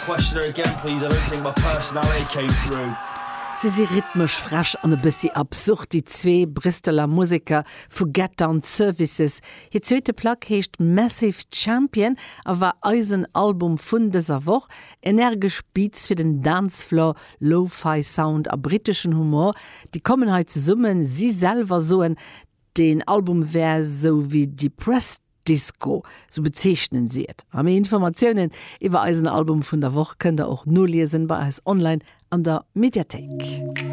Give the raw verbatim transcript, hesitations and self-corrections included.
questionnaire again, please? I don't think my personality came through. Si si rhythmesch frech an e bëssi absurd déi zwee Bristoler Museker vu Get Down Services. Hir zweete Plack heescht Massive Champion a war eisen Album vun dëser Woch, energesch Beats fir den Dancefloor, Lo-Fi Sound a britteschen Humor, déi kommen hei zesummen, si selwer soen, den Album wär sou wéi Depressed Disco, sou bezeechnen si et. A méi Informatiounen iwwer eisen Album vun der Woch kënnt der och noliesen bei eis online an der Mediathéik.